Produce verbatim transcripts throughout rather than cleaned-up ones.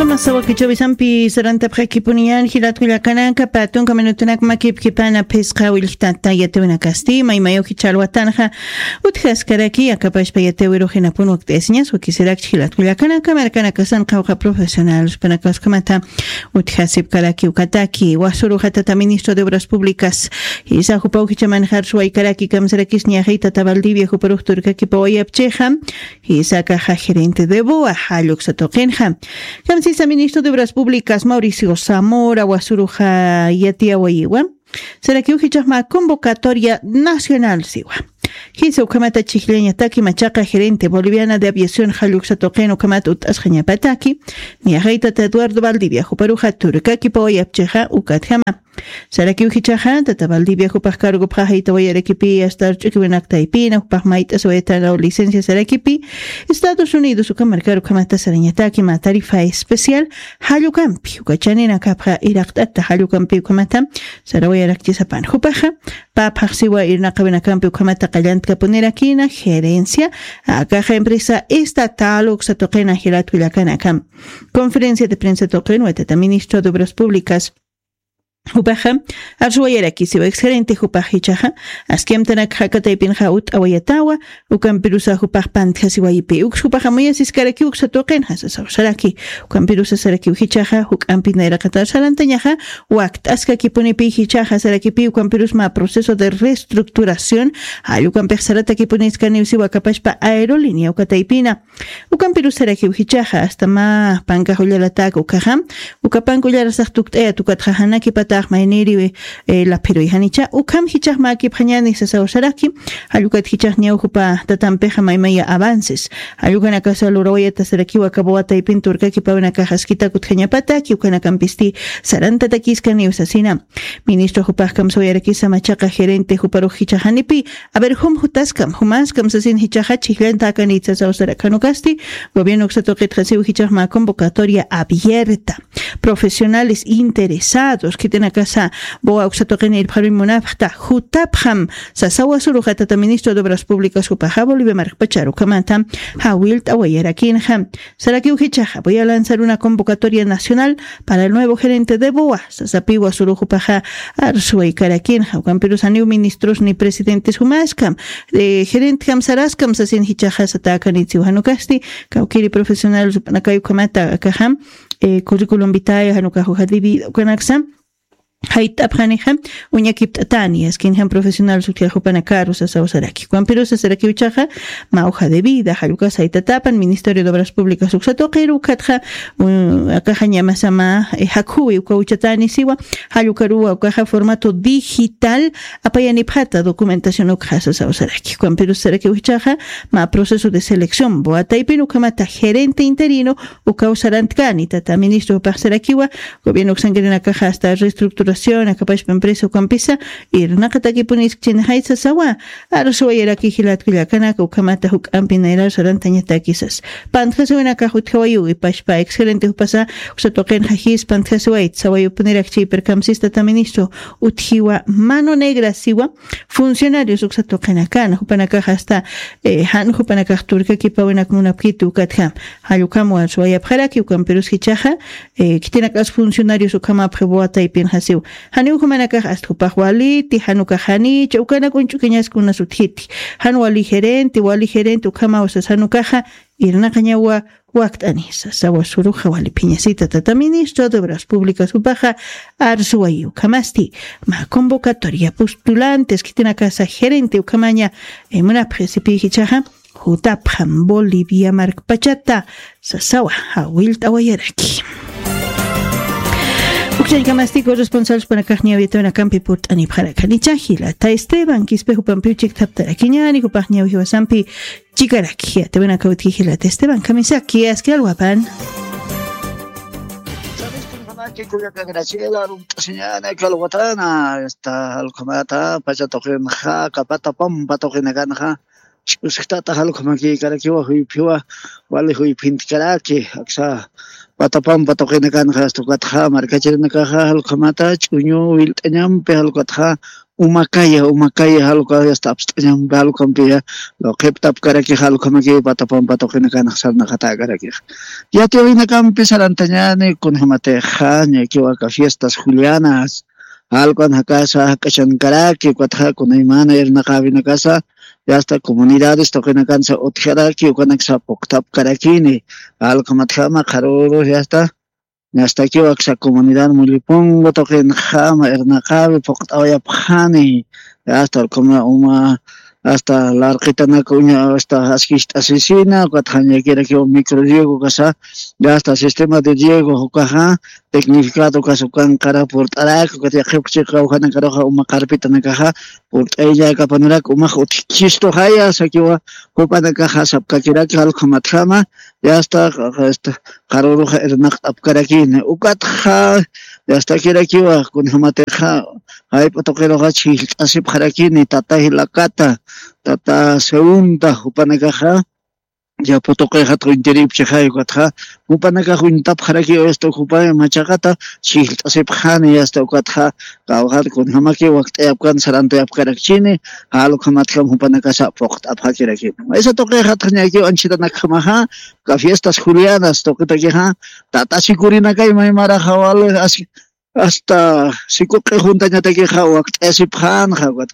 Masa wakichawisampi sarantapxakipuniñan jilatkullakanaka patunka minutunak makipkipana phisqa willktata yatiwinakasti maymayuki chalwatanxa utjaskaraki akapashpa yatiwiruxinapun wakt'ayasiñas wakisirakchi jilatkullakanaka markanakasan qawqa profesional supanakaskamata utjasipkaraki ukataki wasuruxatata ministro de obras públicas jisa jupa ujichamanxar suwaykaraki kamsarakis ñaxitata valdivia juparux turkakipawayapchixa jisakaxa gerente de boa jalluksa tuqinxa kamsisa ministro de obras públicas mauricio zamora wasuruxa yatiyawayiwa sarakiw jichaxma convocatoria nacional siwa jisa ukhamata chijllañataki machaqa gerente boliviana de aviación jalluksa tuqin ukhamata ut'asqañapataki ñaxaytata eduardo valdivia juparuxa turkakipawayapchixa ukatjama sarakiw jichaxa tata valdivia jupax cargopxa jaytawayarakipi asta arch'ukiwinak taypina jupax mayt'asiwayatanaw licencia sarakipi estados unidos uka markar ukhamata sarañataki ma tarifa especial jallukampi uka chaninakapxa iraqt'ata jallukampi ukhamata sarawayarakchisapan jupaxa paphaxsiwa irnaqawinakampi ukhamata qallantkapunirakinak gerencia akaxa empresa estatal uksa tuqina jilatkullakanakam conferencia de prensa tuqin watata ministro de obras públicas jupaxa arsuwayarakisiwa exgerente jupax jichaxa askiamtanakxa kataypinxa ut'awayatawa ukampirusa jupax pantjasiwayipi uks jupaxa muyasiskarakiw uksa tuqinxa sasaw saraki ukampirusa sarakiw jichaxa juk'ampi nayraqatar sarantañaxa wakt'askakipunipi jichaxa sarakipi ukampirusma proceso de reestructuración jall ukampix saratakipuniskaniwsiwa akapashpa aerolínea ukataypina ukampirusarakiw jichaxa asta mä pankax ullarataka ukaxa uka panka ullarasax tukt'ayat ukatxa janakipatax mayniri laphiruy janicha ukham jichax mäkipxañani sasaw saraki jallukat jichax ñawjupa tatampixa maymaya avances jallukanakasa lurawayata sarakiw aka boataypin turkakipawinakax askitakut jañapataki ukanakampisti sarantatakiskaniw sasina ministro jupax kamsawayarakisa machaqa gerente juparux jichaxanipi aver jum jutaskam jumaskam sasin jichaxa chijllantakanit sasaw sarakhanukasti gobierno uksa tuqitxasiw jichaxma convocatoria abierta profesionales interesados khitinakasa boa uksa tuqini irpxaruy munapxta jutapxam sasawa suruxa tata ministro de obras públicas jupaxa bolivia markpachar ukhamata jawillt'awayarakinxa sarakiw jichaxa voy a lanzar una convocatoria nacional para el nuevo gerente de boa sasapiwa suruxupaxa arsuwaykarakinxa ukampirusaniw ministros ni presidentes jumaskam gerentjam saraskam sasin jichaxa satäkanitsiw janukasti kawkiri profesional sup'anakay ukhamata akaxam curriculum vitae janukax hoja de vida ukanaksam jayt'apxanixa uñakipt'atani askinjam profesional sutjaxupanakaru sasaw saraki ukampirusa sarakiw jichaxa mä hoja de vida jallukas jaytatapan ministerio de obras públicas uksa tuqiru ukatxa akaxa ñamasama jakhuwi uka uchatani siwa jallukaruwa ukaxa formato digital apayanipxata documentación ukxa sasaw saraki ukampirus sarakiw jichaxa mä proceso de selección boataypin ukhamata gerente interino ukaw sarantkani tata ministro jupax sarakiwa gobierno uksankirinakaxa asta reestructuración akapashpa empresa ukampisa irnaqatakipuniskchinxay sasawa arsuwayaraki jilatkullakanaka ukhamata juk'ampi nayrar sarantañatakisas pantjasiwinakax utjawayiw ipashpa exgerente jupasa uksa tuqinxa jis pantjasiwayt sawayupunirak chaypir kamsis tata ministro utjiwa mano negra siwa funcionarios uksa tuqinakana jupanakax asta jan jupanakax turkakipawinak munapkiti ukatjam jall ukham warsuwayapxaraki ukampirus jichaxa khitinakas funcionarios ukhamapxi boataypinxasiw janiw jumanakax asta jupax waliti janukax janicha ukanak uñch'ukiñaski unas utjiti jan wali gerente wali gerente ukhamaw sas janukaxa irnaqañawa wakt'ani sasawa suruxa wali phiñasita tata ministro de obras públicas jupaxa arsuwayi ukhamasti mä convocatoria postulantes khitinakasa gerente ukhamaña munapxi sipi jichaxa jutapxam bolivia markpachata sasawa jawillt'awayaraki ukchañkamasti corresponsal supanakax ñawitawinakampi purt'anipxarakanicha jilata esteban quispe jupampiw chikthaptarakiñani jupax ñawijiwasampi chikaraki yatawinakawitki jilata esteban kamisaki aski alwapan Graciela, runt'asiñana kalwatana, esta, alkhamata, pacha tuqinxa, kapata pampa tuqinakanxa, ch'usktata jalukhamakikarakiwa, juyphiwa, wali juyphintikaraki, aksa, patapampa tuqinakanxa asta ukatxa markachirinakaxa jalukhamata ch'uñu wilt'añampi jalukatxa umakaya umakaya jalukaya asta apst'añampi jalukampiya luqhiptapkaraki jalukhamaki patapampa tuqinakanxa sarnaqatäkarakix. Yatiwinakampi sarantañani kunjamatixa ñakiwaka fiestas julianas jalukanajakasa jak'achankaraki ukatxa kunaymana irnaqäwinakasa yasta comunidades tuqinakansa utjaraki ukanaksa puktapkarakini jalukhamatjama qharürux yasta ñastakiwa aksa comunidad mullipungu tuqinxama irnaqäwi pukt'awayapxani. Yasta ukhama uma asta larqitanak uña asta askist'asisina ukatxa ñakirakiwa micro riego kasa yasta sistema de riego ukaxa tecnificado kasa ukanqara purt'arak ukat yaqhipkchiqa ujanakaruxa uma qarpitanakaxa purt'ayllakapanurak umax utjkhistuxaya sakiwa jupanakaxa sapkakiraki jalukhamatjama yasta qharüruxa irnaqt'apkarakini ukatxa yastakirakiwa kunjamatixa jayp'u tuqiruxa chhijllt'asipxarakini tata jilakata tata segunda jupanakaxa yapu tuqixatxa uñtiripchixay ukatxa jupanakax uñtapxarakiwa yasta jupay machaqata chhijllt'asipxani yasta ukatxa kawxat kunjamaki wakt'ayapkan sarantayapkarakchini jalukhamatjam jupanakasa puqt'apxakirakini maysa tuqixatxa ñakiw anchhitanakjamaxa uka fiestas julianas tuqitakixa tata sikurinakay maymaraxa wali asta sikuq'i juntañatakixa wakt'ayasipxanxa ukat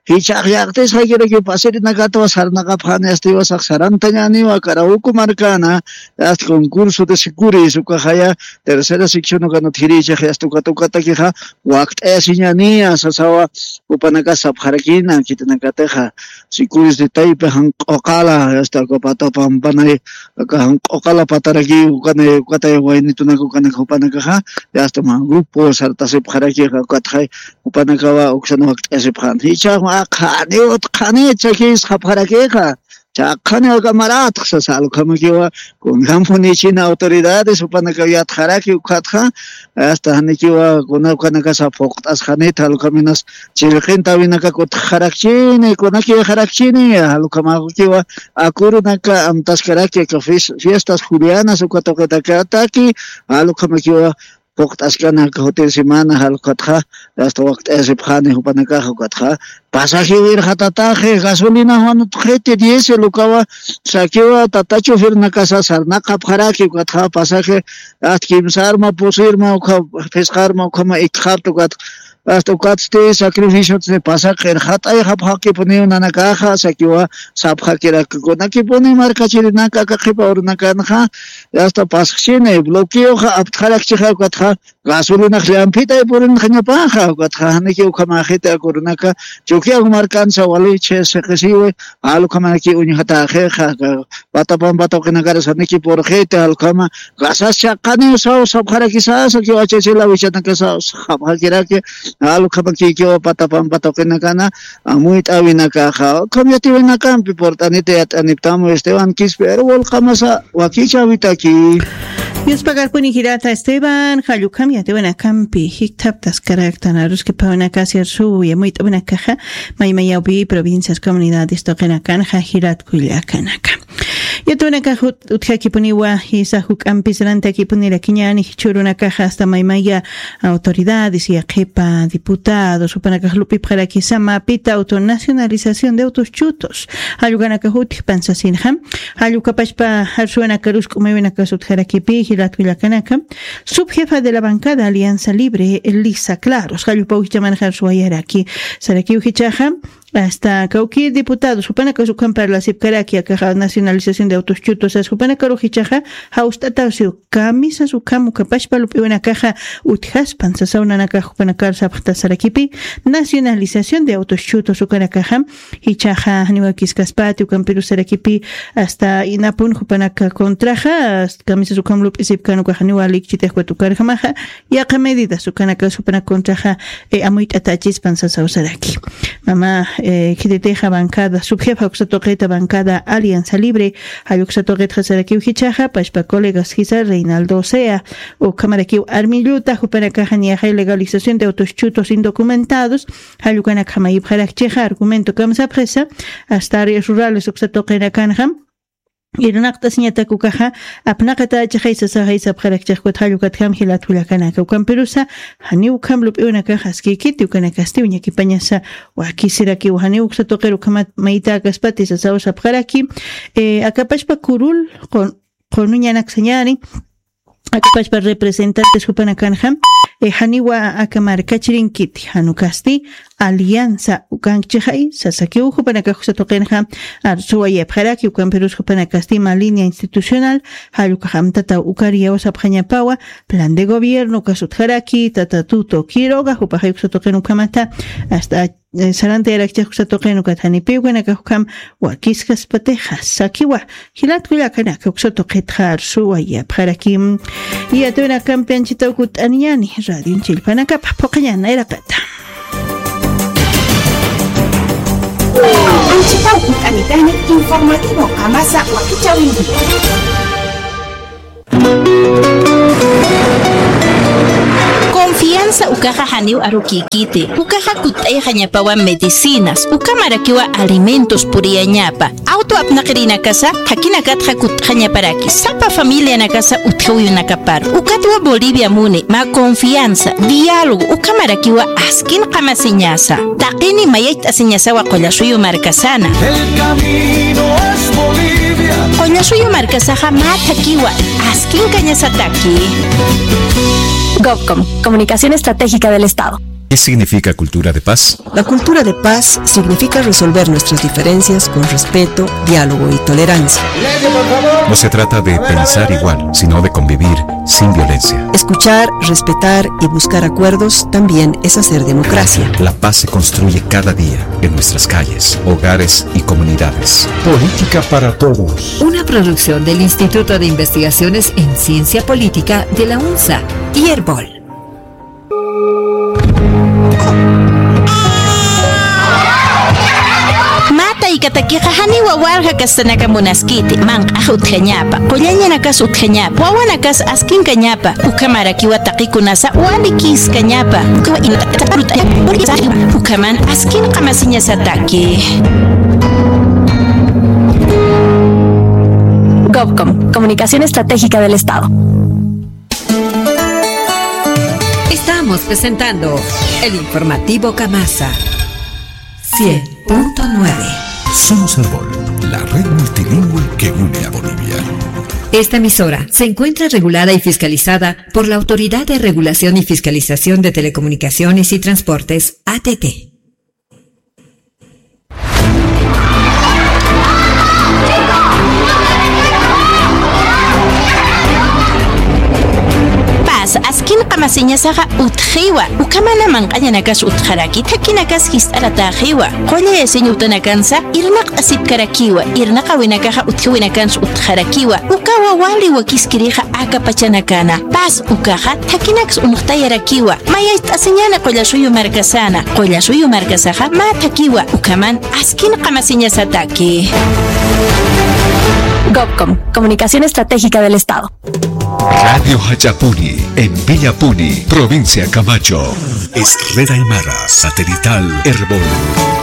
jichhax yaqtisxakiraki pasirinakatwa sarnaqapxani asta iwasax sarantañaniwa karawuku markana asta concurso de sikuris ukaxaya tercera sección ukanat jirichax asta ukat ukatakixa wakt'ayasiñaniya sasawa jupanakas sapxarakina khitinakatixa sikuris de taypi janq'uqala asta uka pata pampanay aka janq'uqala pataraki ukanay ukatay waynitunak ukanak jupanakaxa yasta mä grupo sartasipxarakixa ukatxay jupanakawa uksan wakt'ayasipxan jichhax mä qhaniw utqhani chakisxapxarakixxa chaqhani aka maratx sasa alukhamakiwa kunjampunïchina autoridades jupanakaw yatxaraki ukhatxa asta janikiwa kuna ukanakasa phuqt'asxanita alukhaminas chillqinta awinakak utxarakchini kunakixarakchini alukhamakiwa akurunaka amtaskaraki aka fiestas julianas uka tuqitakataki alukhamakiwa phuqt'askana aka jutir semana jalukatxa asta wakt'ayasipxani jupanakaxa ukatxa pasajiw irxatataxi gasolina juan utxiti diésel ukawa sakiwa tata chufirnakasa sarnaqapxaraki ukatxa pasaji asta kimsarma pusirma ukha phisqarma ukhama ikxapta ukatxa asta ukatsti sacrificiotsti pasaq irxat'ayxapxakipuniw nanakaxa sakiwa sapxakirakkunakipuni markachirinaka aka qhipa urunakanxa asta pasxchini bloqueoxa aptxarakchixa ukatxa gasolinax llampitay purinxañapaxa ukatxa janiki ukhamäxiti akurunaka chukiyaw markansa wali chhisiqisiwi alukhamanaki uñjatäxixa pata pampa tuqinakaras janiki purxiti alukhama gasas chaqaniw saw sapxarakisasa kiwachachila wichanakasaw sapxakiraki alukhamakikiwa pata pampa tuqinakana amuyt'äwinakaxa ukham yatiwinakampi purt'anita yat'aniptamu esteban quispe aruwal qamasa wakichäwitaki. Yuspagarpuni jirata esteban jallukam yatiwinakampi jikthaptaskaraktan aruskipawinakasi arsuwi amuyt'awinakaxa maymayawpi provincias comunidades tuqinakanxa jiratkullakanaka. Yatuwinakax utjakipuniwa jisa juk'ampis rantakipunirakiñani jichhürunakaxa asta maymaya autoridades yaqhipa diputados jupanakax lup'ipxarakisa mapita autonacionalización de autos chutos jallukanakax utjpan sasinxa jallukapachpa jarsuwinakarusk'umiwinakas utjarakipï jilatkullakanaka. Subjefa de la bancada alianza libre lisa claros jallupaw jichaman jarsuwayaraki sarakiw jichaxa asta kawkïr diputados jupanakas ukham parlasipkaraki akaxa nacionalización de autos chutos sas jupanakarux jichaxa jawst'atawsiw kamisas ukham ukapachpa lup'iwinakaxa utjaspan sasaw nanakax jupanakar sapxtasarakipi nacionalización de autos chutos ukanakaxa jichaxa janiwakiskaspati ukampirusarakipi asta inapun jupanaka contraxa kamisas ukham lup'isipkan ukaxa niwa likchitixwat ukarjamaxa yaqha medidas ukanakas jupanak contraxa amuyt'atachispan sasawsaraki. Mama khititixa bancada subjefa uksa tuqita bancada alianza libre jalluksa tuqitxa sarakiw jichaxa pachpa colegas jisa reinaldo sea ukhamarakiw armilluta jupanakaxa niyaxay legalización de autos chutos indocumentados jallukanakxa mayipxarakchixa argumento kamsapxisa asta áreas rurales uksa tuqinakanxa irnaqt'asiñatak ukaxa apnaqatächixay sasaxay sapxarakchix. Ukat jall ukatjam jilat kullakanaka, ukampirusa janiw ukham lup'iwnakax askïkiti, ukanakasti uñakipañasa wakisirakiw, janiw uksa tuqir ukhamat maytäkaspati sasaw sapxaraki. Eh, akapachpa kurul qun-, qunuñanaksañäni, akapachpa representantes jupanakanxa, eh, janiwa aka markachirinkiti, jan ukasti alianza ukankchixay sasakiw. Jupanakax uksa tuqinxa arsuwayapxaraki, ukampirus jupanakasti mä línea institucional, jall ukax amtataw ukar iyawsapxañapawa, plan de gobierno ukas utjaraki, tata Tuto Quiroga, jupaxay uksa tuqin ukhamata, hasta eh, sarantayarakchix uksa tuqin ukat janipiw ukanakax ukham wakiskaspatixa sakiwa. Jilat kullakanaka, uksa tuqitxa arsuwayapxarakim. Yatuynakampi anchhitaw kutt'aniñäni radion chillpanakapa, phuqhañäni nayraqata. Anchhitaw kutt'anitani informativo Qamasa wakichäwinki. Confianza ukaxa janiw arukïkiti. Ukaxa kutt'ayxañapawa medicinas, ukamarakiwa alimentos puriyañapa. Auto apnaqirinakasa, jakinakatxa kutt'xañaparaki. Sapa familianakasa utjawiyunakapar. Ukatwa Bolivia muni, mä confianza, diálogo, ukamarakiwa askin qamasiñasa. Taqini mayayt'asiñasawa Qullasuyu markasana. El camino es Bolivia. Qullasuyu markasaxa mä thakiwa, askin kañasataki. Gobcom, Comunicación Estratégica del Estado. ¿Qué significa cultura de paz? La cultura de paz significa resolver nuestras diferencias con respeto, diálogo y tolerancia. No se trata de pensar igual, sino de convivir sin violencia. Escuchar, respetar y buscar acuerdos también es hacer democracia. La paz se construye cada día, en nuestras calles, hogares y comunidades. Política para todos. Una producción del Instituto de Investigaciones en Ciencia Política de la UNSA y Erbol. Mä taykatakixa janiwa walja kastanaka munaskiti, manq'ax utjañapa, qullañanakas utjañapa, wawanakas askinkañapa, ukhamarakiwa taqikunasa walikïskañapa, ukhaman askin qamasiñasataki. Gobcom, Comunicación Estratégica del Estado. Estamos presentando el informativo Qamasa cien punto nueve. Somos Erbol, la red multilingüe que une a Bolivia. Esta emisora se encuentra regulada y fiscalizada por la Autoridad de Regulación y Fiscalización de Telecomunicaciones y Transportes, A T T. Paz, askin qamasiñasaxa utjiwa, ukhamana manq'añanakas utjaraki, thakinakas jist'aratäxiwa, qullayasiñ utanakansa irnaqt'asipkarakiwa, irnaqawinakaxa utjiwinakans utjarakiwa, ukawa wali wakiskirixa aka pachanakana. Paz ukaxa thakinaks uñjtayarakiwa. Mayayt'asiñäni Qullasuyu markasana. Qullasuyu markasaxa mä thakiwa, ukhaman askin qamasiñasataki. Gobcom, Comunicación Estratégica del Estado. Radio Jach'apuni, en Villapuni, provincia Camacho. Es Red Aymara, satelital Erbol.